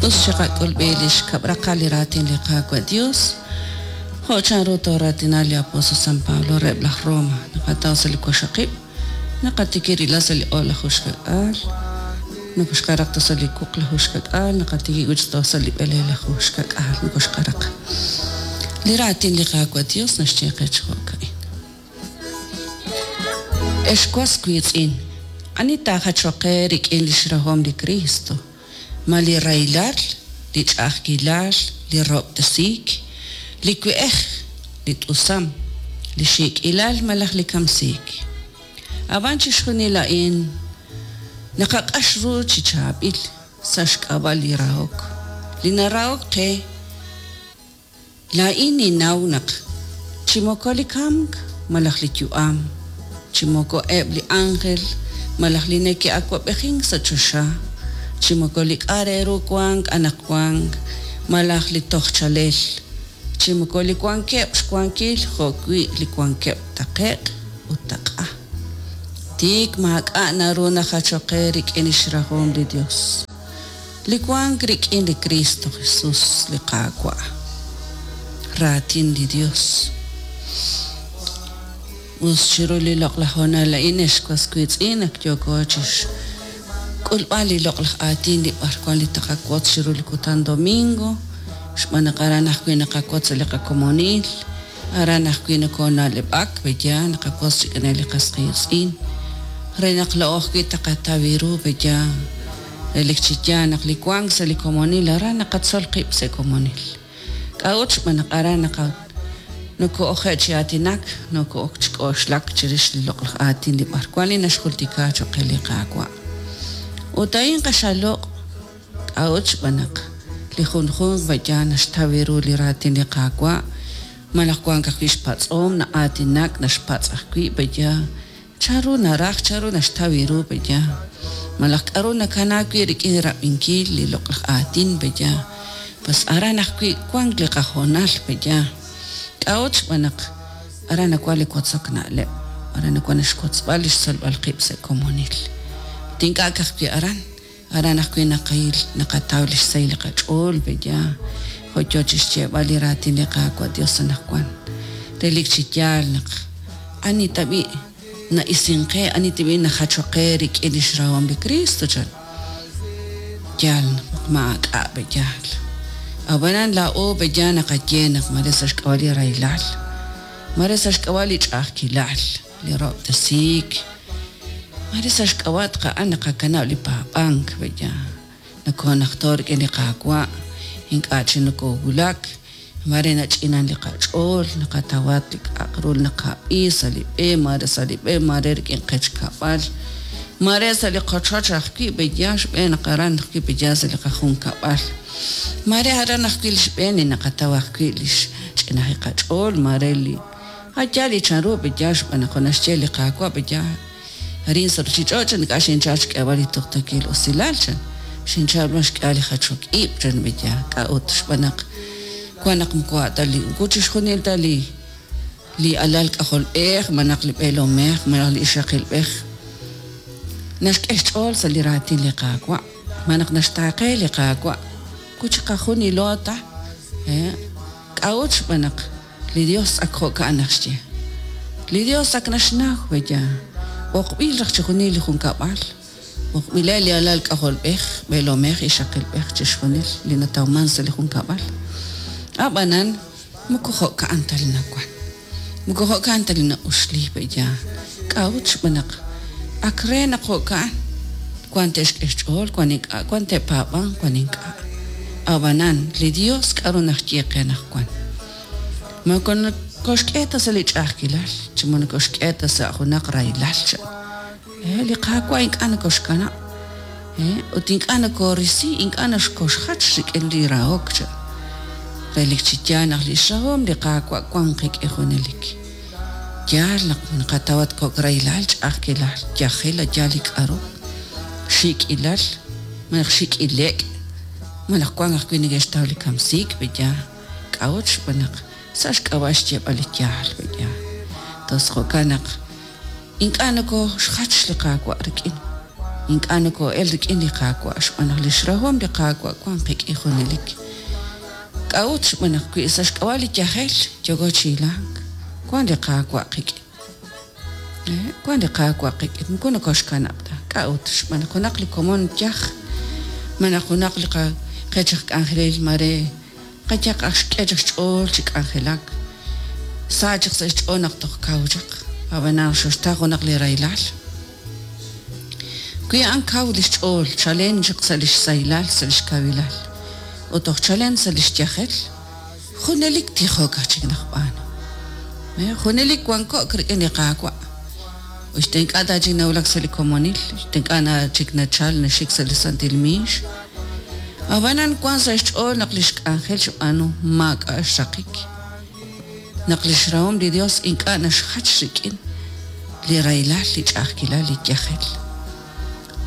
Us chiqak'ulb'il li xkab' raqal li raatin li Qaawa' Dios, jo' chanru tooraatina li apóstol San Pablo reheb' laj Roma, naqataw sa' li waqxaqib', naqatikib' rilb'al sa' li o'laju xka'k'aal, nokoxqaraq toj sa' li wuqlaju xka'k'aal, naqatikib' wi' chik toj sa' li b'eleelaju xka'k'aal, nokoxqaraq. Li raatin li Qaawa' Dios naxye qe chi jo'ka'in. Ex was wiitz'in, ani taajachoq qe rik'in lix rahom li Kristo? Ma li rahilal, li ch'a'ajkilal, li rahob'tesiik, li we'ej, li t'usam, li xiik'ilal malaj li kamsiik? A'b'an chixjunil a'in naqaq'ax ru chi chaab'il sa' xk'ab'a' li rahok, li narahok qe. Laa'in ninnaw naq chi moko li kamk malaj li yu'am, chi moko eb' li ánjel malaj li neke'awab'ejink sa' choxa, chi moko li k'a' re ru wank anaqwan malaj li toj chalel, chi moko li wankeb' xwankil jo'wi' li wankeb' taqe'q ut taq'a, tik maak'a' naru najachok qe rik'in li xrahom li Yos. Li wank rik'in li Kristo Jesus, li Qaawa'. Raatin li Dios. Us chiru li loq'laj hoonal a'in, ex was wiitz'in, ak yooko chixk'ulb'al li loq'laj aatin li b'arwan li taqawotz chiru li kutan domingo, xb'aan naq aran ajwi' naqawotz sa' li qakomonil, aran ajwi' nokona'leb'ak, pe'yaal naqawotz rik'ineb' li qas qiitz'in, re naq laa'o ajwi' taqataw ru, pe'yaal. Relik chi yaal naq li wank sa' li komonil aran naqatzol qib' sa' komonil. K'a'ut? Xb'aan naq aran naqa noko'oje' chi aatinak, noko'ok chi k'oxlak chirix li loq'laj aatin li b'arwan li naxjultika choq' qe li Qaawa'. Ut a'in q'axal loq'. K'a'ut? Xb'aan naq li junjunq b'ayal naxtaw ru li raatin li Qaawa' malaj wank ajwi' xpatz'om, na'aatinak, naxpatz' ajwi' b'ayal Chanru naraj, chanru naxtaw ru pe'yaal? Malaj k'aru nakanaak wi' rik'in rab'inkil li loq'laj aatin pe'yaal? Pues aran ajwi' wank li qahoonal pe'yaal. K'a'ut? Xb'aan naq aran nawank li wotzok na'leb', aran nawank li xwotzb'al li xtzolb'al qib' sa' komonil. Ut ink'a' ka'ajwi' aran, aran ajwi' naqil naqataw li xsahil li qach'ool pe'yaal, jo' yo chi xyeeb'al li raatin li Qaawa' Yos anaqwan. Relik chi yaal naq ani tab'i' na'isink qe, ani tab'i' najachok qe rik'in li xrahom li Kristo, chan. Yaal naq maak'a' pe'yaal. Ab'anan laa'o pe'yaal naqaye naq mare sa' xk'ab'a' li rahilal, mare sa' xk'ab'a' li ch'a'ajkilal, li rahob'tesiik, mare sa' xk'ab'a' a'an naqakanab' li paab'ank pe'yaal. Nokoonajto' rik'in li Qaawa', ink'a' chik nokoowulak, maare nach'inan li qach'ool, naqatawat li k'a'aq ru li naqab'i sa' li b'e, maare sa' li b'e, maare rik'in qech kab'al, maare sa' li qochoch ajwi' pe'yaal xb'een naq aran ajwi' pe'yaal sa' li qajunkab'al. Maare aran ajwi' li xb'een li naqataw ajwi' li xch'inajik qach'ool, maare li a' yaal li chanru pe'yaal xb'aan naq jo' naxye li Qaawa' pe'yaal. Arin sa' ruuchich'och' ink'a' xinchal xk'eeb'al li tuqtuukil usilal, chan. Xinchal b'an xk'ehal li jachok ib', chan B'eya. K'a'ut? Xb'aan naq wan naq moko a' ta li moko chixjunil ta li li alal k'ajolb'ej malaj li b'eelomej malaj li ixaqilb'ej naxk'e xch'ool sa' li raatin li Qaawa', malaj naxtaaqe li Qaawa'. Moko chiqajunilo ta. K'a'ut? Xb'aan naq Li Dios ak jo'ka'an naxye. Li Dios ak naxnaw, B'eya, b'oqb'il raj chixjunil li junkab'al, b'oqb'ileb' li alal k'ajolb'ej, b'eelomej, ixaqilb'ej, chixjunil li natawman sa' li junkab'al. A'b'anan, moko jo'ka'an ta li nawan. Moko jo'ka'an ta li na'uxli, B'eya. K'a'ut? Xb'aan naq ak re naq jo'ka'an, wan te'xk'e xch'ool, wan ink'a', wan te'paab'anq, wan ink'a'. A'b'anan, li Dios k'a'ru naxye qe anaqwan? Moko nokoxk'e ta sa' li ch'a'ajkilal, chi moko nokoxk'e ta sa' junaq rahilal, chan. Li Qaawa' ink'a' nokoxkanab', ut ink'a' nokorisi, ink'a' nokoxjach rik'in li rahok, chan. Relik chi yaal naq lix rahom li Qaawa' wan qik'in junelik. Yaal naq naqatawat kok' rahilal, ch'a'ajkilal, yajel, yaal li k'a'ru, xiik'ilal, malaj xik'ile'k, malaj wank ajwi' neke'xtaw li kamsiik, pe'yaal? K'a'ut? Xb'aan naq sa' xk'ab'a' xyeeb'al li yaal, pe'yaal? Tos jo'kan naq ink'a' nokooxjach li Qaawa' rik'in. Ink'a' nokoo'el rik'in li Qaawa' xb'aan naq lix rahom li Qaawa' wan qik'in junelik. K'a'ut xb'aan naq wi sa' xk'ab'a' li yajel yooko chi hilank, wan li Qaawa' qik'in. Wan li Qaawa' qik'in, moko nokoxkanab' ta. K'a'ut xb'aan naq junaq li komon yaj, malaj junaq li qech aj k'anjelil mare qayaq aj xk'e chaq xch'ool chi k'anjelak, sa chaq sa' xch'ool naq toj kaw chaq, ab'anan xoxtaw junaq li rahilal. Wi a'an kaw lix ch'ool chalen chaq sa' lix sahilal, sa' lix kawilal, ut toj chalen sa' lix yajel, junelik tijok aj chik naqb'aanu. Junelik wanko'k rik'in li Qaawa'. Ut ink'a' ta chik nawulak sa' li komonil, ink'a' na chik nachal naxik sa' li santil miix. Ab'anan wan sa' xch'ool naq lix k'anjel xb'aanu maak'a' xraqik. Naq lix rahom li Dios ink'a' naxjach rik'in li rahilal, li ch'a'ajkilal, li yajel.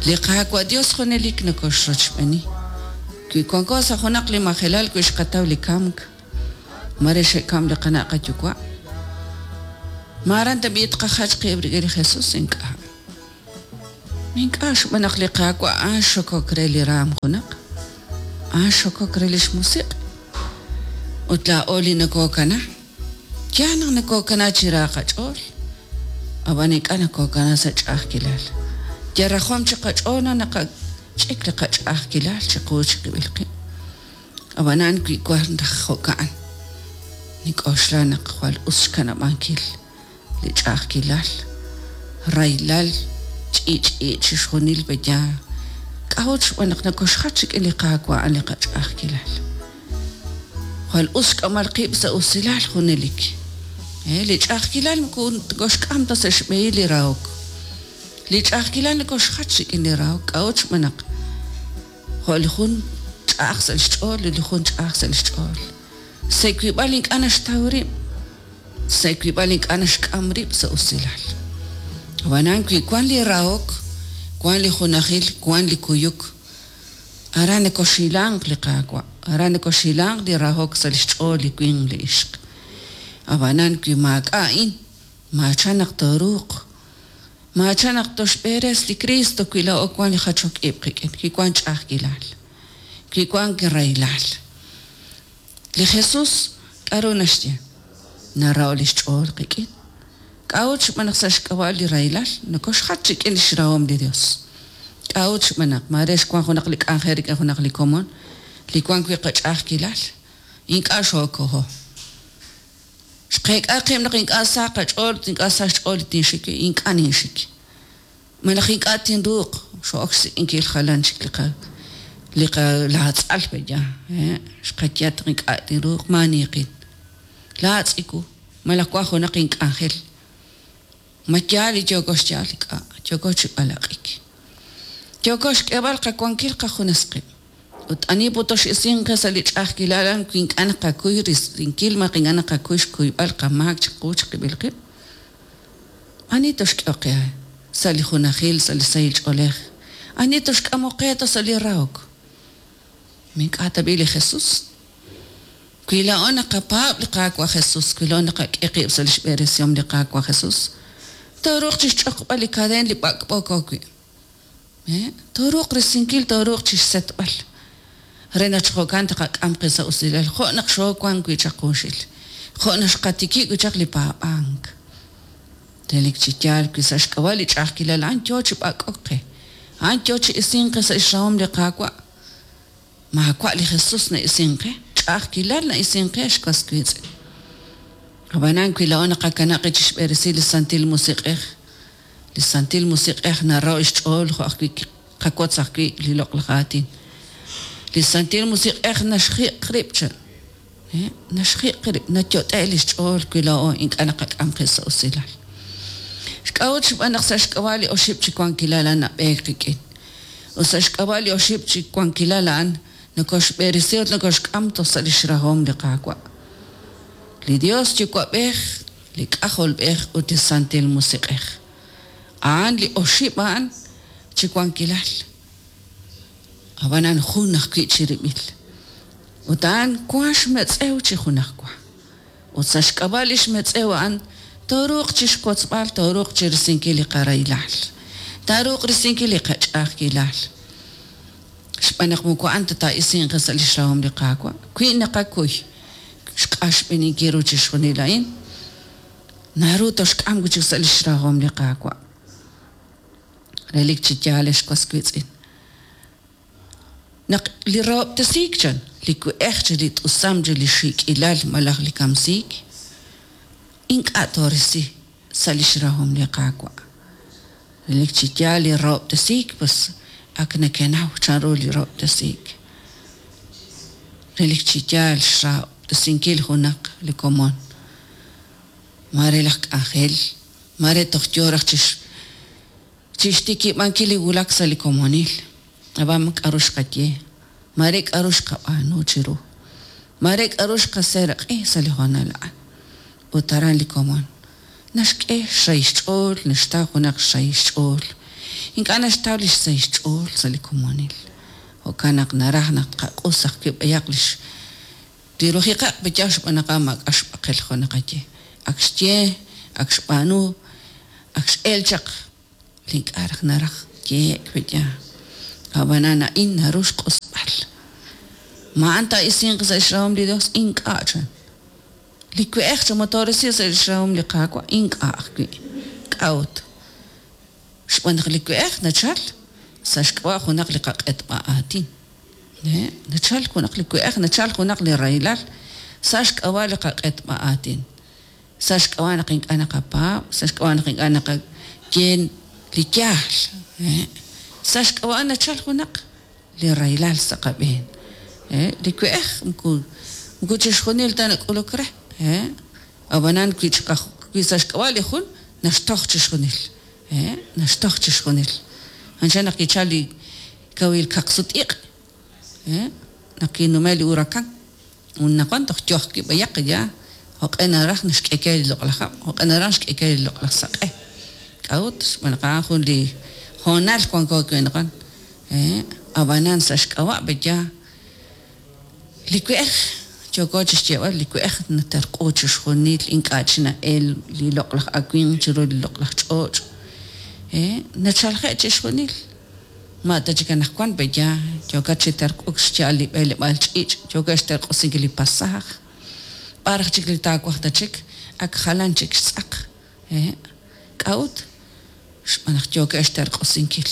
Li Qaawa' Dios junelik nokoxrochb'eeni. Wi wanko sa' junaq li majelal wi xqataw li kamk, mare xe'kam li qana' qayuwa', ma aran tab'i' tqajach qib' rik'in li Jesus? Ink'a'. Ink'a' xb'aan naq li Qaawa' a'an xokok re li raam junaq, a'an xokok re lix musiq'. Ut laa'o li nokokana, yaal naq nokokana chi ra qach'ool, ab'an ink'a' nokokana sa' ch'a'ajkilal. Yal rajom chi qach'ool naq naqach'ik li qach'a'ajkilal chiqu chiqib'il qib'. Ab'anan wi wan raj jo'ka'an, nik'oxla naq jwal us xkanab'ankil li ch'a'ajkilal, rahilal, ch'i'ch'i' chixjunil pe'yaal. K'a'ut xb'aan naq nokoxjach rik'in li Qaawa' a'an li qach'a'ajkilal. Jwal us xk'amb'al qib' sa' usilal junelik. Li ch'a'ajkilal moko nokoxk'am ta sa' xb'ehil li rahok. Li ch'a'ajkilal nokoxjach rik'in li rahok. K'a'ut xb'aan naq jo' li jun ch'a'aj sa' xch'ool li jun ch'a'aj sa' xch'ool. Sa' wiib'al ink'a' naxtaw rib', sa' wiib'al ink'a' naxk'am rib' sa' usilal. Ab'anan wi wan li rahok, wan li junajil, wan li kuyuk, aran nokoxilanq li Qaawa', aran nokoxilanq li rahok sa' lix ch'ool li winq li ixq. Ab'anan wi maak'a' a'in, maachan naq tooruuq, maachan naq toxb'eres li Cristo wi laa'o wan li jachok ib' qik'in, wi wan ch'a'ajkilal, wi wan rahilal. Li Jesus k'aru naxye? Naraho' lix ch'ool qik'in. K'a'ut xb'aan naq sa' xk'ab'a' li rahilal nokoxjach rik'in lix rahom li Dios. K'a'ut xb'aan naq mare xwan junaq li k'anjel rik'in junaq li komon li wan wi' qach'a'ajkilal, ink'a' xookoho. Xqeek'a qib' naq ink'a' sa qach'ool ut ink'a' sa xch'ool li tinxik wi', ink'a' ninxik. Malaj ink'a' tinruuq xo'ok xsik'inkil jalan chik li qa li qa laatz'al pe'yaal, xqaye naq ink'a' tinruuq maaniiqin. Laatz'iku, malaj wan junaq ink'anjel. Ma yaal li yooko xyaal? Ink'a', yooko chi b'alaq'ik. Yooko xk'eeb'al qawankil qajunes qib'. Ut ani putox'isinq qe sa' li ch'a'ajkilal a'an wi ink'a' naqakuy risinkil malaj ink'a' naqakuy xkuyb'al qamaak chiqu chiqib'il qib'? Ani toxk'ehoq qe sa' li junajil, sa' li sahil ch'oolej? Ani toxk'amoq qe ta sa' li rahok? Ma ink'a' tab'i' li Jesus? Wi laa'o naqapaab' li Qaawa' Jesus, wi laa'o naqak'e qib' sa' lix b'eresihom li Qaawa' Jesus, tooruuq chixch'oqb'al li kadeen li b'ak'b'ooko wi'. Tooruuq risinkil, tooruuq chixsetb'al re naq chi jo'kan taqak'am qe sa' usilal jo' naq xoowan wi' chaq junxil, jo' naq xqatikib' wi' chaq li paab'ank. Relik chi yaal wi sa' xk'ab'a' li ch'a'ajkilal a'an yoo chi b'ak'ok qe, a'an yoo chi isink qe sa' xrahom li Qaawa'. Maawa' li Jesus na'isink qe, ch'a'ajkilal na'isink qe, xwas wiitz'in. Ab'anan wi laa'o naqakanab' qib' chixb'eresi li Santil Musiq'ej, li Santil Musiq'ej naraho' xch'ool jo' ajwi' qawotz ajwi' li loq'laj aatin. Li Santil Musiq'ej naxjiq' rib' cha, naxjiq' rib', nayot'e' lix ch'ool wi laa'o ink'a' naqak'am qib' sa' usilal. Xk'a'ut xb'aan naq sa' xk'ab'a' li oxib' chi wankilal a'an nab'eek qik'in. Ut sa' xk'ab'a' li oxib' chi wankilal a'an nokoxb'eresi ut nokoxk'am toj sa' lix rahom li Qaawa'. Li Dios Yuwa'b'ej, li K'ajolb'ej ut li Santil Musiq'ej. A'an li oxib' a'an chi wankilal. Ab'anan jun ajwi' chirib'il. Ut a'an wank xmetz'ew chi junajwa. Ut sa' xk'ab'a' li xmetz'ew a'an tooruuq chixkotzb'al, tooruuq chirisinkil li qarahilal. Taaruuq risinkil li qach'a'ajkilal. Xb'aan naq moko a'an ta taa'isinq qe sa' lix rahom li Qaawa'. Wi naqakuy xq'axb'eninkil ru chixjunil a'in, naru toxk'am wi' chik sa' lix rahom li Qaawa'. Relik chi yaal, ex was wiitz'in. Naq li rahob'tesiik chan, li we'ej chi li t'usam chi li xiik'ilal malaj li kamsiik, ink'a' toorisi sa' lix rahom li Qaawa'. Relik chi yaal li rahob'tesiik, pues ak nekenaw chanru li rahob'tesiik. Relik chi yaal xrahob'tesinkil junaq li komon, maare laj k'anjel, maare toj yoo raj chixtikib'ankil li wulak sa' li komonil, ab'an k'a'ru xqaye, maare k'a'ru xqab'aanu chiru, maare k'a'ru xqaseeraq'i sa' li hoonal a'an. Ut aran li komon naxk'e xrahil xch'ool, naxtaw junaq xrahil xch'ool. Ink'a' naxtaw li xsahil xch'ool sa' li komonil. Jo'kan naq naraj naq tqaq'us ajwi' b'ayaq lix li rujiqaq' b'ayaq xb'aan naq a'an maak'a' xb'aqel jo' naqaye. Ak xye, ak xb'aanu, ak x'el chaq li ink'a' raj naraj yehe'k b'ayaq. Ab'anan a'in naru xq'usb'al. Ma a'an taa'isinq sa' xrahom li Dios? Ink'a' chan. Li we'ej chamotorisi sa' lix rahom li Qaawa' ink'a' ajwi'. K'a'ut? Xb'aan naq li we'ej nachal sa' xk'ab'a' junaq li qaq'etb'a aatin. Nachal junaq li we'ej, nachal junaq li rahilal sa' xk'ab'a' li qaq'etb'a aatin. Sa' xk'ab'a' naq ink'a' naqapaab', sa' xk'ab'a' naq ink'a' naqaye li yaal. Sa' xk'ab'a' nachal junaq li rahilal sa' qab'een. Li we'ej moko moko chixjunil ta nak'uluk re. Ab'anan wi wi sa' xk'ab'a' li jun naxtoj chixjunil. Naxtoj chixjunil. Anchal naq kichal li kawil kaqsut-iq', naq kinume' li huracan, anaqwan toj yo ajwi' b'ayaq ya jo'q'e naraj naxk'e ke li loq'laj hab', jo'q'e naraj naxk'e ke li loq'laj saq'e. K'a'ut? Xb'aan naq a'an jun li hoonal wanko wi' anaqwan. Ab'anan sa' xk'ab'a' b'aya li we'ej yooko chixyeeb'al li we'ej naterq'u chixjunil ink'a' chi na'el li loq'laj awimq chiru li loq'laj ch'och'. Nachalje' chixjunil. Ma ta chik anaqwan b'aya yookat chi terq'uk xya'al li b'eleb'aal ch'iich', yookat xterq'usinkil li pasaaj. B'ar aj chik li taawaj ta chik, ak jalan chik xtz'aq. K'a'ut? Xb'aan naq yookeb' xterq'usinkil.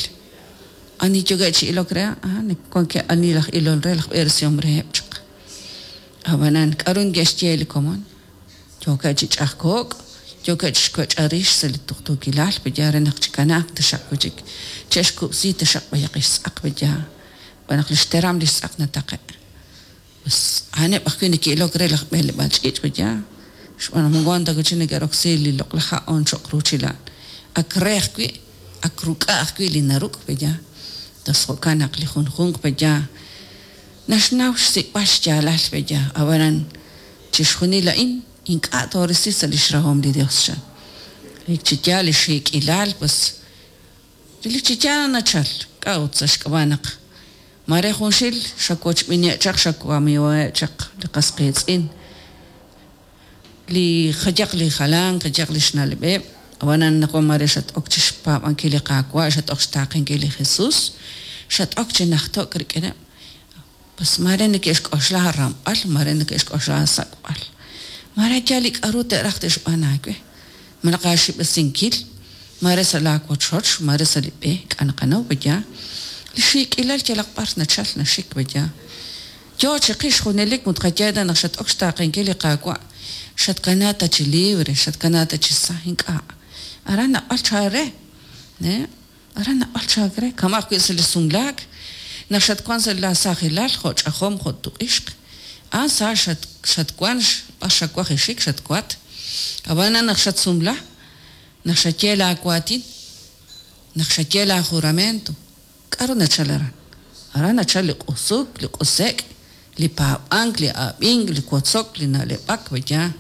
Ani yookeb' chi ilok re a'an, wankeb' ani laj ilol re, laj b'eresihom reheb' chaq. Ab'anan, k'aru neke'xye li komon? Yookeb' chi ch'ajko'k, yookeb' chi xwech'a rix sa' li tuqtuukilal, b'aya re naq chikanaaq taxaq wi' chik, che'xkub'si taxaq b'ayaq xtz'aq b'aya, xb'aan naq li xteram li xtz'aq nataqe'. Pues a'aneb' ajwi' neke'ilok re laj b'eleb'aal ch'iich' b'aya, xb'aan naq moko wan ta wi' chik neke'roksi li loq'laj ha' on cho'q ruuchil a'an. Ak re ajwi', ak ruk'a' ajwi' li naruk' b'aya. Tos jo'kan naq li junjunq b'aya naxnaw xsik'b'al xyaalal b'aya, ab'anan chixjunil a'in ink'a' toorisi sa' lix rahom li Dios, chan. Relik chi yaal li xiik'ilal, pues relik chi yaal nachal. K'a'ut? Sa' xk'ab'a' naq maare junxil xawochb'iniheb' chaq, xawamiiwaheb' chaq li qas qiitz'in, li jayaq li jalan, jayaq li xna'leb'eb', ab'anan anaqwan maare xat-ok chi xpaab'ankil li Qaawa', xat-ok xtaaqenkil li Jesus, xat-ok chi najto'k rik'ineb'. Pues maare neke'xk'oxla aaramb'al, maare neke'xk'oxla aasak'b'al. Maare yaal li k'a'ru te'raj te'xb'aan aawe. Malaj aaxib'esinkil, maare sa' laa wochoch, maare sa' li b'e, k'a' naqanaw b'aya. Li xiik'ilal yalaq b'ar nachal naxik b'aya. Yoo chiqix junelik mut qaye ta naq xat-ok xtaaqenkil li Qaawa', xatkana ta chi libre, xatkana ta chi sa, ink'a'. Aran nab'al chaal re. Aran nab'al chaak re, kama' ajwi' sa' li sumlaak, naq xatwank sa' laasaajilal jo' ch'ajom jo' tuq'ixq, a'an sa xatwank b'ar xawaj exik xatwat. Ab'anan naq xatsumla, naq xaye laawaatin, naq xaye laajuramento, k'aru nachal aran? Aran nachal li q'usuk, li q'use'k, li paab'ank, li ab'ink, li wotzok, li na'leb'ak, b'aya.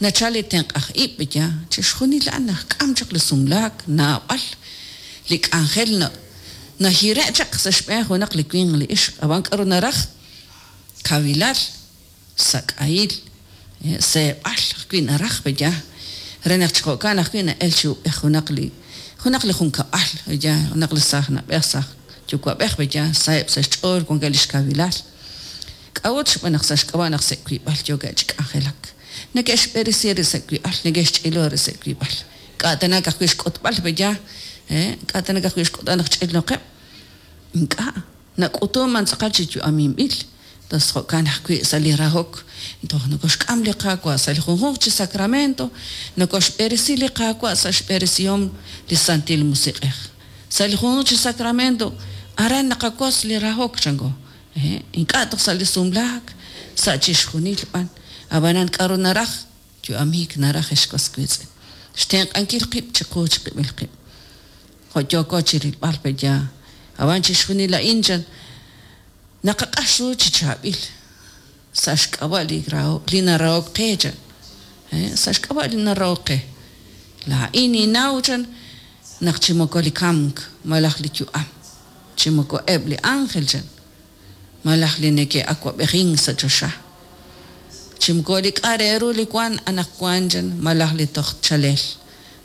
Nachal li tenq'aj ib', b'aya. Chixjunil a'an naxk'am chaq li sumlaak, naab'al li k'anjel nahire' chaq sa' xb'een junaq li winq li ixq. Ab'an k'aru naraj? Kawilal, sak'ahil, seeb'al ajwi' naraj, b'aya. Re naq chi jo'kan ajwi' na'el chi ub'ej junaq li Junaq li junkab'al, ya, junaq li saaj na'b'ej, saaj yuwa'b'ej, ya, saheb' sa' xch'ool, wankeb' li xkawilal. K'a'ut? Xb'aan naq sa' xk'ab'a' naq sa' wiib'al yookeb' chi k'anjelak. Neke'xb'eresi rib' sa' wiib'al, neke'xch'ilo rib' sa' wiib'al. K'a' tana ka'ajwi' xk'utb'al, ya, k'a' tana ka'ajwi' xk'utb'al naq ch'ilnoqeb'. Ink'a', nak'utunman tz'aqal chi yu'aminb'il. Entonces jo'kan ajwi' sa' li rahok, toj nokoxk'am li Qaawa' sa' li junjunq chi sacramento, nokoxb'eresi li Qaawa' sa' xb'eresihom li Santil Musiq'ej. Sa' li junjunq chi sacramento, aran naqawotz li rahok, chanko. Ink'a' toj sa' li sumlaak, sa' chixjunil b'an. Ab'anan k'a'ru naraj? Yu'amiik naraj, ex was wiitz'in. Xtenq'ankil qib' chiqu chiqib'il qib'. Jo' yooko chi rilb'al pe ya. Ab'an chixjunil a'in chan naqaq'ax ru chi chaab'il sa' xk'ab'a' li rahok, li narahok qe chan. Sa' xk'ab'a' li narahok qe. Laa'in ninnaw chan naq chi moko li kamk malaj li yu'am, chi moko eb' li ángel chan, malaj li neke'awab'ejink sa' choxa, chi moko li k'a' re ru li wank anaqwan chan malaj li toj chalel,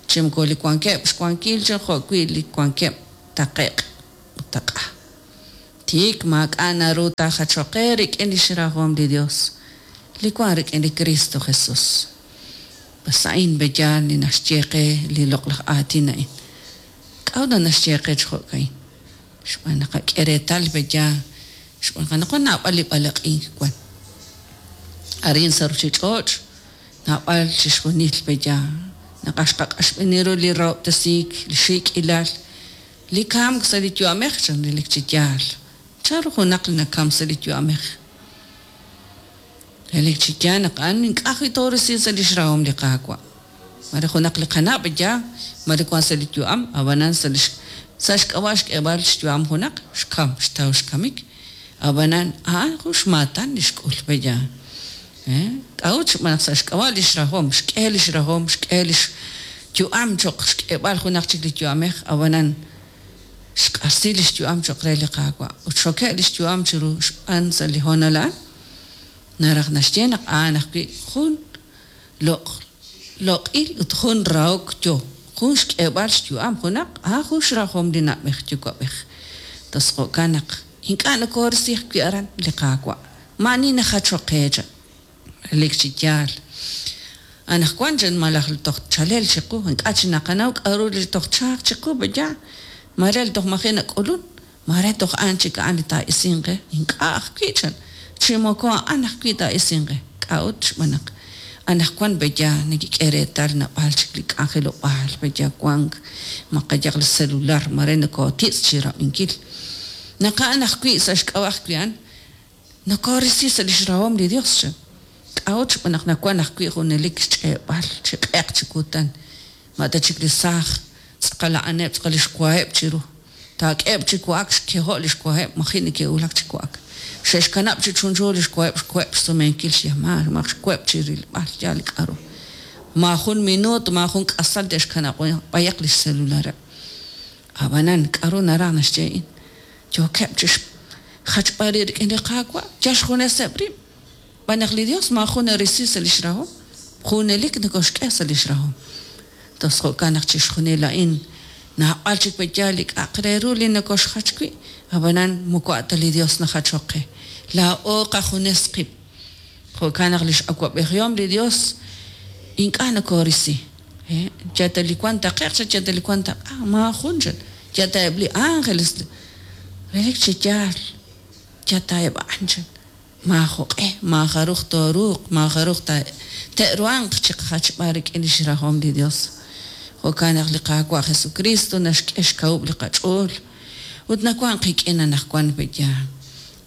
chi moko li wankeb' xwankil chan jo'wi' li wankeb' taqe'q ut taq'a. Tiik maak'a' naru taajachoq qe rik'in li xrahom li Dios li wank rik'in li Kristo Jesus. Bas a'in beyaal li naxye qe li loq'laj aatin a'in. K'a'ut naq naxye qe chi jo'ka'in? Xb'aan naq qak'e reetal beyaal, xb'aan naq anaqwan naab'al li b'alaq'ink wan. Arin sa' ruuchich'och' naab'al chixjunil beyaal naq xqaq'axb'eni ru li rahob'tesiik, li xiik'ilal, li kamk sa' li yu'amej chan relik chi yaal. Chanru junaq li nakamk sa' li yu'amej? Relik chi yaal naq a'an ink'a' ajwi' toorisi sa' li xrahom li Qaawa'. Mare junaq li qanab' ya, mare wank sa' li yu'am, ab'anan sa' li sa' xk'ab'a' xk'eeb'al xyu'am junaq, xkam, xtaw xkamik. Ab'anan a'an jun xmaatan li xk'ul pe ya. K'a'ut? Xb'aan naq sa' xk'ab'a' li xrahom, xk'e li xrahom, xk'e li xyu'am cho'q xk'eeb'al junaq chik li yu'amej, ab'anan xq'axsi li xyu'am cho'q re li Qaawa' ut xxoke' li xyu'am chiru xb'aan sa' li hoonal a'an. Naraj naxye naq a'an ajwi' jun loq' loq'il ut jun rahok yo, jun xk'eeb'al xyu'am junaq, a'an jun xrahom li na'b'ej yuwa'b'ej. Tos jo'kan naq ink'a' nokoorisi ajwi' aran li Qaawa'. Maa'ani najachok qe chan. Relik chi yaal. Anaqwan chan malaj li toj chalel chiqu, ink'a' chi naqanaw k'a'ru li toj tchalq chiqu, ya, mare li toj maji' nak'ulun, mare toj a'an chik a'an li taa'isinq qe, ink'a' ajwi' chan, chi moko a'an ajwi' taa'isinq qe. K'a'ut? Xb'aan naq anaqwan pe ya nekek'e reetal naab'al chik li k'anjelob'aal pe ya wank, maqayaq li celular, mare nokootitz' chi rab'inkil. Naq a'an ajwi' sa' xk'ab'a' ajwi' a'an, Nokoorisi sa' li xrahom li Yos, chan. K'a'ut? Xb'aan naq nawank ajwi' junelik xch'eeb'al chi q'eq chi kutan. Ma ta chik li saaj, tz'aqal a'aneb' tz'aqal li xwaheb' chiru. Taak'eheb' chi wa'ak xkeho' li xwaheb', maji' neke'wulak chi wa'ak. Xe'xkanab' chi chunchu li xwaheb' xkoheb' xsumenkil xyamaal, malaj xkoheb' chi rilb'al yaal li k'aru. Maajun minuut, maajun k'asal te'xkanab' b'ayaq li xselulareb'. Ab'anan, k'aru naraj naxye a'in? Yookeb' chi xjachb'al rib' rik'in li Qaawa', yal xjuneseb' rib'. Xb'aan naq li Yos maajun narisi sa' li xrahom, junelik nokoxk'e sa' li xrahom. Tos jo'kan naq chixjunil a'in naab'al chik pe yaal li k'a'aq re ru li nokoxjach wi', ab'anan moko a' ta li Yos najachok qe, laa'o qajunes qib'. Jo'kan naq li x'awab'ejihom li Yos ink'a' nokoorisi. Yal ta li wank taqe'q chan, yal ta li wank taq'a, maajun chan. Yal ta eb' li ánjeles, relik chi yaal, yal ta eb' a'an chan. Maajoq'e, maajaruj tooruuq, maajaruj te'ruhanq chiqajachb'al rik'in li xrahom li Yos. Jo'kan naq li Qaawa' Jesukriist naxk'e xkawub' li qach'ool ut nawank qik'in anaqwan pe' yaal.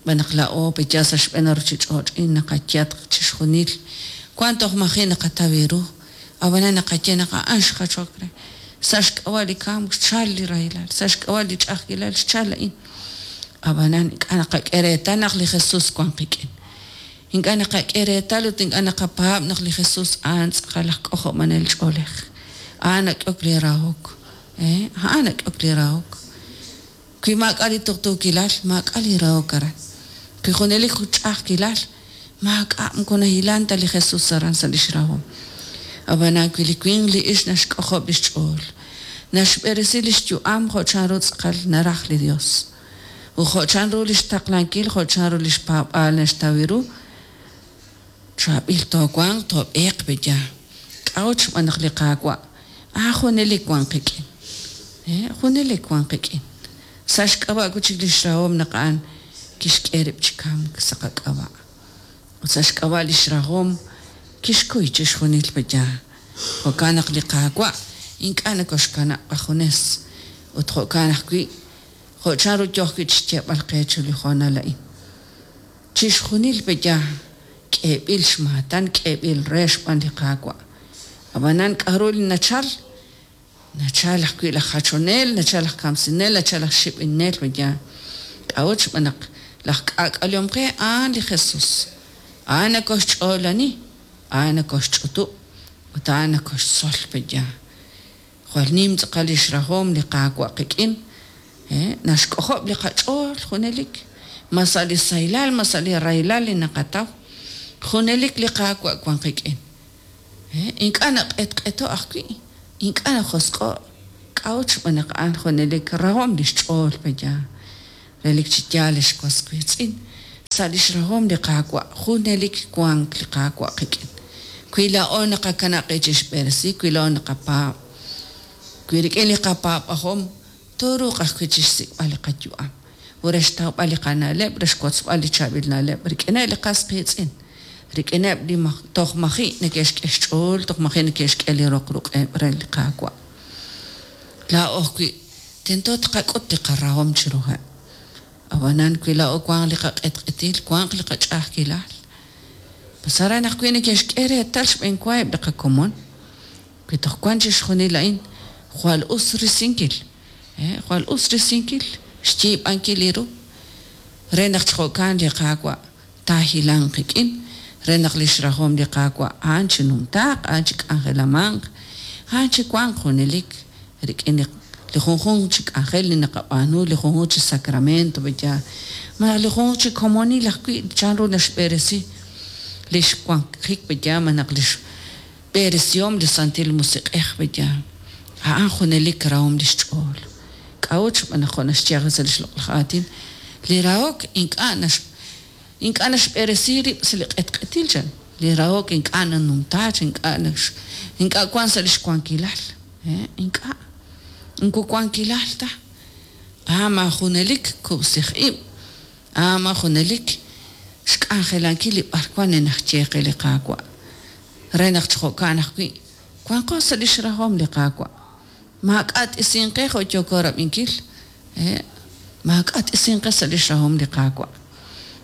Xb'aan naq laa'o pe' yaal sa' xb'een ruuchich'och'il naqayatq chixjunil wank toj maji' naqataw ru. Ab'anan naqaye naq a'an xjachok re. Sa' xk'ab'a' li kamk xchalk li rahilal, sa' xk'ab'a' li ch'a'ajkilal xchalk a'in. Ab'anan ink'a' naqak'e reetal naq li Jesús wank qik'in. Ink'a' naqak'e reetal ut ink'a' naqapaab' naq li Jesús a'an tz'aqal aj k'ojob'anel ch'oolej. A'an nak'ehok li rahok. A'an nak'ehok li rahok. Wi maak'a' li tuqtuukilal, maak'a' li rahok aran. Wi junelik jun ch'a'ajkilal, maak'a' moko nahilank ta li Jesus aran sa' li xrahom. Ab'anan wi li winq li ixq naxk'ojob' li xch'ool. Naxb'eresi lix yu'am jo' chanru tz'aqal naraj li Dios. Ut jo' chanru lix taqlankil, jo' chanru lix paab'aal naxtaw ru, chaab'il toowanq, toob'eeq pe'yaal. K'a'ut xb'aan naq li Qaawa' a'an junelik wan qik'in. Junelik wan qik'in. Sa' xk'ab'a' wi' chik lix rahom naq a'an kixk'e rib' chi kamk sa' qak'ab'a'. Ut sa' xk'ab'a' lix rahom kixkuy chixjunil pe'yaal. Jo'kan naq li Qaawa' ink'a' nokoxkanab' qajunes. Ut jo'kan ajwi' jo' chanru yoo ajwi' chixyeeb'al qe chiru li hoonal a'in. Chixjunil pe'yaal k'eeb'il xmaatan, k'eeb'il re xb'aan li Qaawa'. Ab'anan k'aru li nachal? Nachal ajwi' laj jachonel, nachal laj kamsinel, nachal laj xib'inel pe'yaal. K'a'ut xb'aan naq laj k'aak'alehom qe a'an li Jesus. A'an nokoxch'oolani, a'an nokoxch'utub' ut a'an nokoxtzol pe'yaal. Jwal nim tz'aqal lix rahom li Qaawa' qik'in, naxk'ojob' li qach'ool junelik, ma sa' li sahilal, ma sa' li rahilal li naqataw, junelik li Qaawa' wan qik'in. Ink'a' naq'etq'eto' ajwi', ink'a' najosq'o', k'a'ut xb'aan naq a'an junelik rahom lix ch'ool pe'yaal. Relik chi yaal ex was wiitz'in, sa' lix rahom li Qaawa' junelik wank li Qaawa' qik'in. Wi laa'o naqakanab' qib' chixb'eresi, wi laa'o naqapaab', wi rik'in li qapaab'ajom tooruuq ajwi' chixsik'b'al li qayu'am ut re xtawb'al li qana'leb' re xwotzb'al li chaab'il na'leb' rik'ineb' li qas qiitz'in, rik'ineb' li toj maji' neke'xk'e xch'ool, toj maji' neke'xk'e li roq ruq'eb' re li Qaawa'. Laa'o ajwi' tento tqak'ut li qarahom chiruheb'. Ab'anan wi laa'o wanq li qaq'etq'etil, wanq li qach'a'ajkilal, pues aran ajwi' neke'xk'e reetal xb'eenwa eb' li qakomon. Wi toj wank chixjunil a'in, jwal us risinkil, jwal us risinkil, xyiib'ankil li ru, re naq chi jo'kan li Qaawa' taahilanq qik'in, re naq lix rahom li Qaawa' a'an chinumtaaq, a'an chik'anjelamanq, a'an chiwanq junelik rik'in li junjunq chi k'anjel li naqab'aanu, li junjunq chi sacramento, pe'yaal, malaj li junjunq chi komonil ajwi' chanru naxb'eresi lix wanjik pe'yaal, malaj lix b'eresihom li Santil Musiq'ej pe'yaal. A'an junelik rahom lix ch'ool. K'a'ut xb'aan naq jo' naxye ajwi' sa' lix loq'laj aatin, li rahok ink'a' nax ink'a' naxb'eresi rib' sa' li q'etq'etil chan, li rahok ink'a' nanumta chi ink'a' nax ink'a' wan sa' lix wankilal, ink'a', moko wankilal ta. A'an ma junelik kub'sij ib', a'an ma junelik xk'anjelankil li b'arwan li naxye qe li Qaawa', re naq chi jo'kan ajwi' wanqo sa' lix rahom li Qaawa'. Maak'a' t'isinq qe jo' yooko rab'inkil, maak'a' t'isinq qe sa' lix rahom li Qaawa'.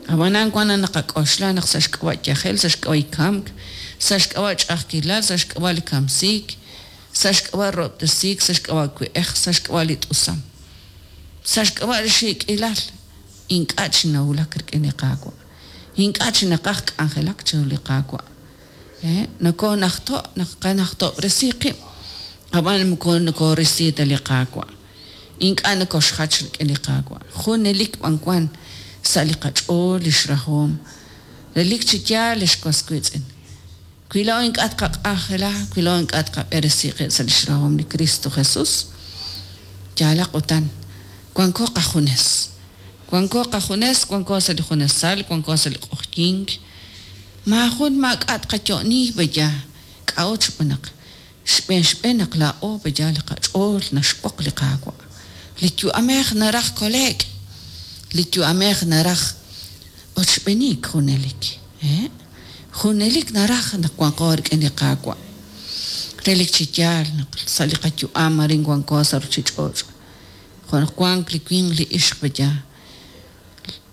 Ab'anan wan naq naqak'oxla naq sa' xk'ab'a' yajel, sa' xk'ab'a' li kamk, sa' xk'ab'a' ch'a'ajkilal, sa' xk'ab'a' li kamsiik, sa' xk'ab'a' rahob'tesiik, sa' xk'ab'a' we'ej, sa' xk'ab'a' li t'usam, sa' xk'ab'a' li xiik'ilal, ink'a' chi nawulak rik'in li Qaawa', ink'a' chi naqaj k'anjelak chiru li Qaawa'. Nokoonajto' naqanajtob'resi qib', ab'an moko nokoorisi ta li Qaawa'. Ink'a' nokoxjach rik'in li Qaawa'. Junelik b'an wan sa' li qach'ool lix rahom. Relik chi yaal ex was wiitz'in, wi laa'o ink'a' tqaq'anjela, wi laa'o ink'a' tqab'eresi qib' sa' lix rahom li Kristo Jesus, yaalaq utan wanko qajunes. Wanko qajunes, wanko sa' li junesal, wanko sa' li q'oqyink. Maajun maak'a' tqayo'ni pe'yaal. K'a'ut xb'aan naq xb'een xb'een naq laa'o pe'yaal li qach'ool naxb'oq li Qaawa'. Li yu'amej naraj kole'k, li yu'amej naraj ochb'eniik junelik. Junelik naraj naq wanqo rik'in li Qaawa'. Relik chi yaal naq sa' li qayu'am arin wanko sa' ruuchich'och'. Jo' naq wank li winq li ixq pe'yaal.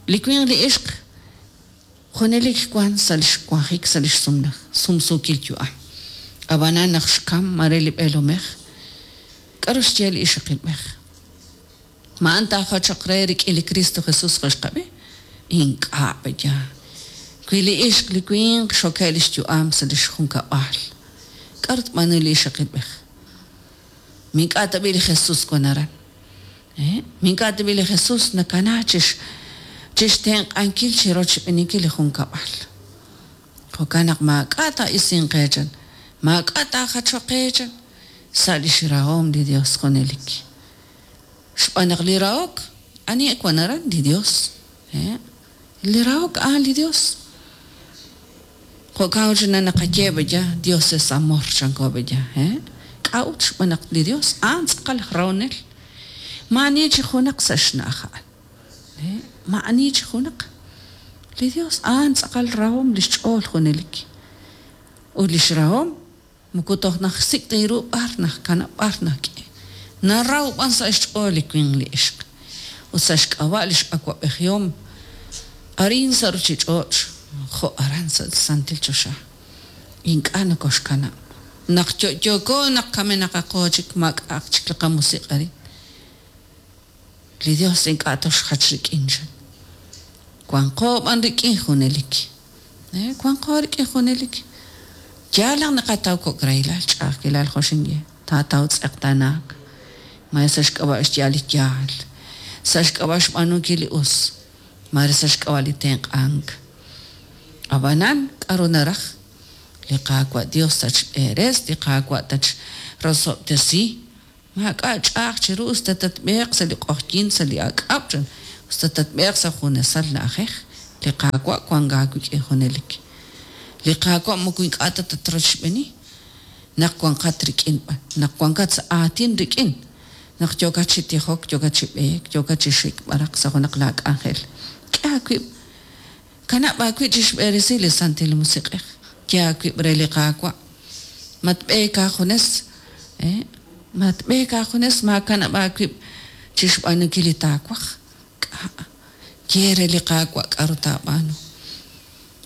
Li winq li ixq junelik wank sa' li xwanjik sa' li xsumsuukil yu'am. Ab'anan naq xkam mare li b'eelomej, k'aru xye li ixaqilb'ej? Ma a'an taajachoq re rik'in li Kristo Jesus jo' xqab'i? Ink'a' pe'yaal. Wi li ixq li winq xokeb' li xyu'am sa' li xjunkab'al, k'aru tb'aanu li ixaqilb'ej? Ma ink'a' tab'i' li Jesus wan aran? Ma ink'a' tab'i' li Jesus nakana chi xtenq'ankil chi rochb'eeninkil li junkab'al? Jo'kan naq maak'a' taa'isinq qe chan, maak'a' taajachoq qe chan. sa' lix rahom li Dios junelik. Xb'aan naq li rahok, ani wan aran? Li Dios. Li rahok a'an li Dios. Jo'kan ut naq naqaye b'aya, Dios es amor, chanko b'aya. K'a'ut xb'aan naq li Dios a'an tz'aqal aj rahonel. Maa'ani chi junaq sa' xna'aj a'an. Maa'ani chi junaq. Li Dios a'an tz'aqal rahom lix ch'ool junelik. Ut lix rahom moko toj naxsik' ta ru b'ar najkanab' b'ar najk'e. Naraw b'an sa' xch'ool li winq li ixq. Ut sa' xk'ab'a' lix awa'b'ejihom arin sa' ruchich'och' jo' aran sa' santil choxa. Ink'a' nokoxkanab'. Naq yo'yooko naq kamenaqaqo chik maak'a'aq chik li qamusiq' arin. Li Dios ink'a' toxjach rik'in chan. Wanqo b'an rik'in junelik. Wanqo rik'in junelik. Yaal naq naqataw kok' rahilal, ch'a'ajkilal jo' xinye. Taataw tz'eqtaanaak. Mare sa' xk'ab'a' xyaal li yaal. Sa' xk'ab'a' xb'aanunkil li us. Mare sa' xk'ab'a' li tenq'ank. Ab'anan, k'aru naraj? Li Qaawa' Dios tatxb'eres, li Qaawa' tatxrosob'tesi. Maak'a' ch'a'aj chiru us ta tatb'eeq sa' li q'oqyink sa' li ak'ab', us ta tatb'eeq sa' junesal na'ajej, li Qaawa' wank aawik'in junelik. Li Qaawa' moko ink'a' ta tatrochb'eeni naq wanqat rik'in b'an, naq wankat sa' aatin rik'in, naq yookat chi tijok, yookat chi b'eek, yookat chi xik b'araq sa' junaq laa k'anjel. K'e aawib', kanab' aawib' chixb'eresi li Santil Musiq'ej, ye aawib' re li Qaawa'. Matb'eek aajunes, matb'eek aajunes, maakanab' aawib' chixb'aanunkil li taawaj. K'a' ye re li Qaawa' k'aru taab'aanu.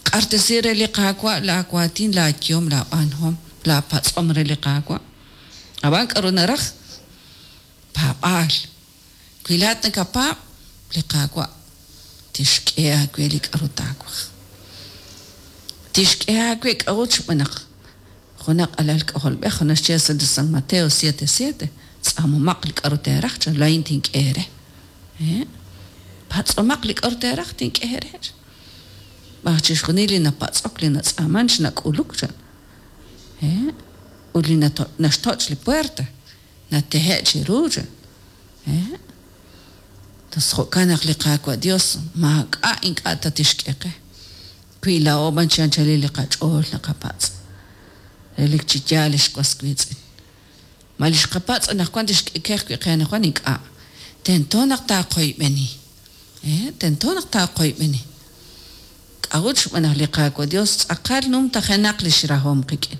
Q'axtesi re li Qaawa' laawaatin, laayehom, laab'aanuhom, laapatz'om re li Qaawa'. Ab'an k'aru naraj? Paab'aal. Wi laa'at nakapaab', li Qaawa' tixk'e aawe li k'aru taawaj. Tixk'e aawe k'a'ut xb'aan naq junaq alal k'ajolb'ej jo' naxye sa' li San Mateo 7:7, tz'aamomaq li k'aru teeraj, chan laa'in tink'e eere. Patz'omaq li k'aru teeraj, tink'e eere. B'aj chixjunil li napatz'ok, li natz'aaman, chnak'uluk, chan. Ut li naxtoch' li puerta, natehe' chiru, chan. Tos jo'kan naq li Qaawa' Dios maak'a' ink'a' ta tixk'e qe. Wi laa'o b'an chi anchalil li qach'ool naqapatz'. Relik chi yaal ex was wiitz'in. Ma li xqapatz' anaqwan tixk'e qe ajwi' qe anaqwan? Ink'a'. Tento naq taaqoyb'eni. Tento naq taaqoyb'eni. K'a'ut xb'aan naq li Qaawa' Dios tz'aqal numtajenaq lix rahom qik'in.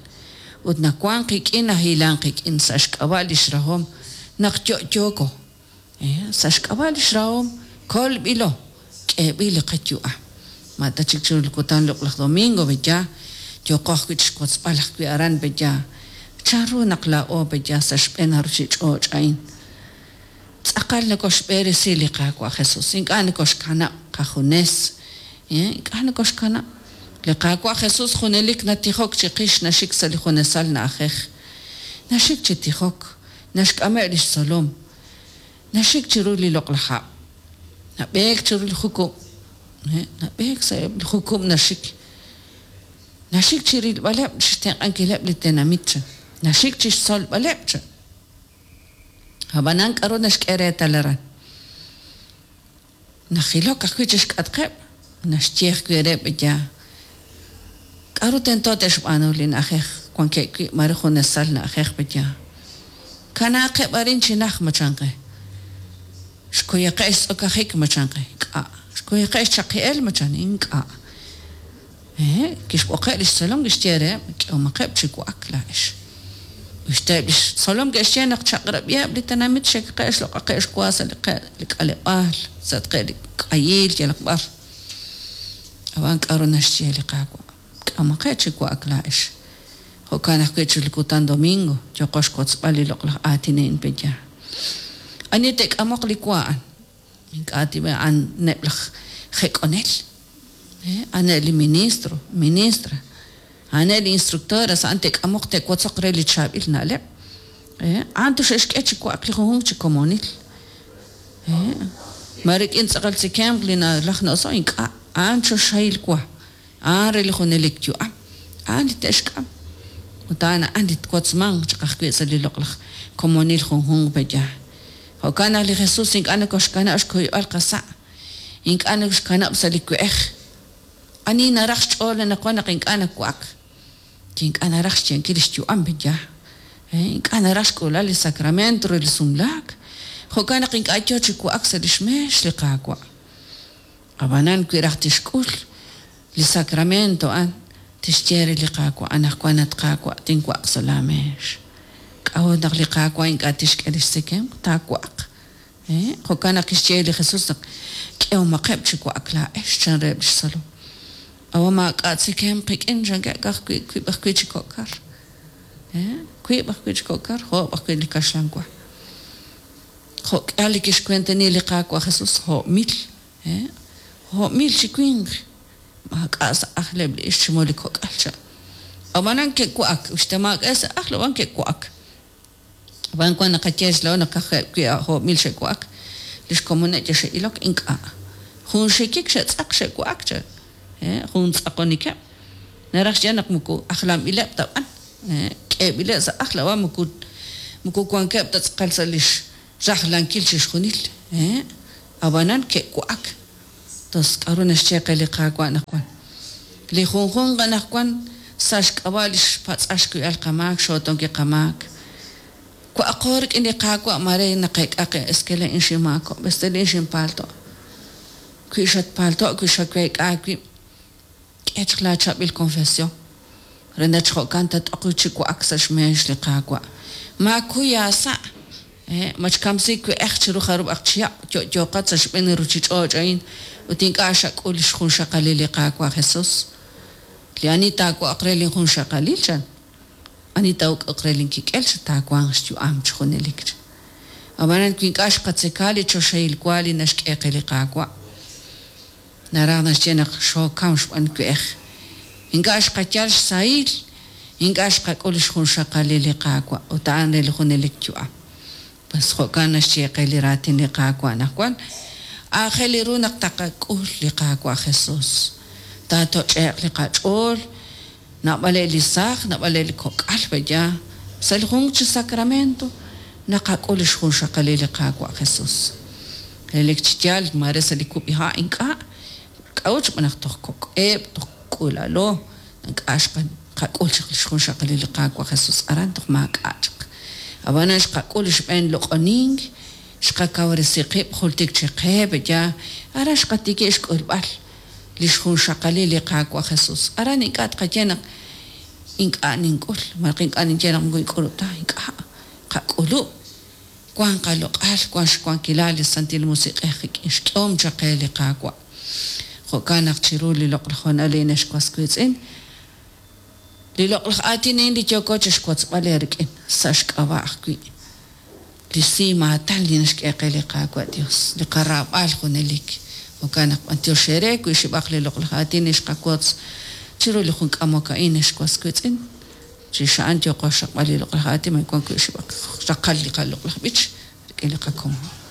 Ut nawank qik'in nahilank qik'in sa' xk'ab'a' lix rahom naq yo'yooko. Sa' xk'ab'a' lix rahom kolb'ilo, k'eeb'il li qayu'am. Ma ta chik chiru li kutan loq'laj domingo pe'ya, yooqo ajwi' chixwotzb'al ajwi' aran pe'ya, chanru naq laa'o pe'ya sa' xb'een a ruchich'och' a'in. Tz'aqal nokoxb'eresi li Qaawa' Jesus, ink'a' nokoxkanab' qajunes, ink'a' nokoxkanab'. Li Qaawa' Jesus junelik natijok chiqix, naxik sa' li junesal na'ajej. Naxik chi tijok, naxk'ameb' lix tzolom, naxik chiru li loq'laj hab', nab'eek chiru li jukub', nab'eek sa'eb' li jukub' naxik. Naxik chirilb'aleb', chixtenq'ankileb' li tenamit, chan. Naxik chixtzolb'aleb', chan. Ab'anan k'aru naxk'e reetal aran? Najilok ajwi' chi xk'atqeb', naxye ajwi' reheb' ya k'aru tento te'xb'aanu li na'ajej wankeb' wi' mare junesal na'ajej pe'ya. Kanaaqeb' arin chi najt ma chan qe. Xkuyaqeb' xtz'okajik ma chan qe. Ink'a'. Xkuyaqeb' xchaqi'el ma chan. Ink'a'. Kixb'oqeb' li xtzolom kixye reheb', K'ehomaqeb' chi wa'ak laa'ex. Usta eb' li xtzolom ke'xye naq chaq'rab'iheb' li tenamit xekaqeb' xloq'aqeb' xwa sa' li k'aleb'aal, sa'atqeb' li k'ayiil yalaq b'ar. Ab'an k'aru naxye li Qaawa'? K'ehomaqeb' chi wa'ak laa'ex. Jo'kan ajwi' chiru li kutan domingo yooqo xwotzb'al li loq'laj aatin a'in pe'yaal. Ani te'k'amoq li wa a'an? Ink'a' tib'e a'aneb' laj jek'onel, a'aneb' li ministro, ministra, a'aneb' li instructoras, a'an te'k'amoq te'wotzoq re li chaab'il na'leb'. A'an toxe'xk'e chi wa'ak li junjunq chi komonil. Ma rik'in tz'aqal tzekemq li nalaj na'oso'? Ink'a'. A'an choxahil wa. A'an re li junelik yu'am. A'an li te'xk'am. Ut a'an a'an li twotzmanq chaq ajwi' sa' li loq'laj komonil junjunq pe'yaal. Jo'kan naq li Jesus ink'a' nokoxkanab' xkuyb'al qasa', ink'a' nokoxkanab' sa' li we'ej. Ani naraj xch'ool anaqwan naq ink'a' nawa'ak? Ink'a' naraj xyenkil li xyu'am pe'yaal. Ink'a' naraj xk'ulal li sacramento re li sumlaak. Jo'kan naq ink'a' yo chi wa'ak sa' li xmeex li Qaawa'. Ab'anan wi raj tixk'ul li sacramento a'an, tixye re li Qaawa', Anaqwan at Qaawa', tinwa'aq sa' laameex. K'a'ut naq li Qaawa' ink'a' tixk'e li xtzekemq? Taawa'aq. Jo'kan naq kixye li Jesus naq k'ehomaqeb' chi wa'ak laa'ex, chan reheb' li xtzolom. Ab'an maak'a' tzekemq qik'in, chankeb' ka'ajwi' wiib' ajwi' chi kok' kar. Wiib' ajwi' chi kok' kar, oob' ajwi' li kaxlan wa. Jo' k'ihal li kixwenteni li Qaawa' Jesus, jo'mil, jo'mil chi winq, maak'a' sa' ajleb' li ixq chi moko li kok'al, chan. Ab'anan ke'wa'ak, uxta maak'a' sa' ajl, ab'an ke'wa'ak. Ab'an wan naqaye xlaa'o naq ka'ajwi' jo'mil xe'wa'ak, li xkomoneb' yal xe'ilok, ink'a'. Jun xikik xe'tz'aq xe'wa'ak, chan. Jun tz'aqonikeb'. Naraj xyeeb'al naq moko ajlanb'ileb' ta b'an. K'eeb'ileb' sa' ajl, ab'an moko moko wankeb' ta tz'aqal sa' li xrajlankil chixjunil. Ab'anan ke'wa'ak. Tos k'aru naxye qe li Qaawa' anaqwan? Li junjunq anaqwan sa' xk'ab'a' li xpatz'al xkuyb'al qamaak, xootonkil qamaak. Wa'aqo rik'in li Qaawa' maare naqeek'a qe eskele in xinmaakob'k, eskele in xinpaalto'. Wi xatpaalto' wi xaweek'a aawib', k'e chaq laachaab'il konfesyon re naq chi jo'kan tat'oq wi' chi wa'ak sa' xmeex li Qaawa'. Maakuy aasa', matxkamsi we'ej chiru jarub'aq chihab' yo'yooqat sa' xb'een li ruuchich'och' a'in ut ink'a' xak'ul li xjunxaqalil li Qaawa' Jesus. Li ani taawa'aq re linjunxaqalil, chan, ani taa'uk'uq re linkik'el, chan, taawanq xyu'am chi junelik, chan. Ab'anan wi ink'a' xqatzeka li choxahil wa li naxk'e qe li Qaawa', Naraj naxye naq xookam xb'aan we'ej. Ink'a' xqayal xsahil, ink'a' xqak'ul lix junxaqalil li Qaawa', ut a'an re li junelik yu'am. Pues jo'kan naxye qe li raatin li Qaawa' anaqwan, aajel ru naq taqak'ul li Qaawa' Jesus. Taatoch'e'q li qach'ool, naab'aleb' li saaj, naab'aleb' li kok'al, b'eya, sa' li junq chi sacramento naqak'ul lix junxaqalil li Qaawa' Jesus. Relik chi yaal, maare sa' li kub'iha' ink'a', k'a'ut xb'aan naq toj kok'eb', toj k'uula'lo, ink'a' xqak'ul chaq lix junxaqalil li Qaawa' Jesus aran, toj maak'a' chaq. Ab'anan xqak'ul li xb'een loq'onink, xqakawresi qib' jultik chi qe, pe'yaal, aran xqatikib' xk'ulb'al lix junxaqalil li Qaawa' Jesus. Aran ink'a' tqaye naq ink'a' nink'ul, malaj ink'a' ninye naq moko ink'ulub' ta, ink'a'. Qak'ulub'. Wank qaloq'al, wank xwankilal li Santil Musiq'ej qik'in, xk'ehom chaq qe li Qaawa'. Jo'kan naq chiru li loq'laj hoonal a'in, ex was wiitz'in, li loq'laj aatin a'in li yooko chixwotzb'al eerik'in, sa' xk'ab'a' ajwi' li simaatan li naxk'e qe li Qaawa' Dios, li qaraab'al junelik. Jo'kan naq b'antiox eere wi xib'aq li loq'laj aatin li xqawotz chiru li jun k'amok a'in, ex was wiitz'in. Chirix a'an yooqo xraqb'al li loq'laj aatin ma wank wi' xib'aq raqal li qaloq'laj b'ich rik'in li qakomon.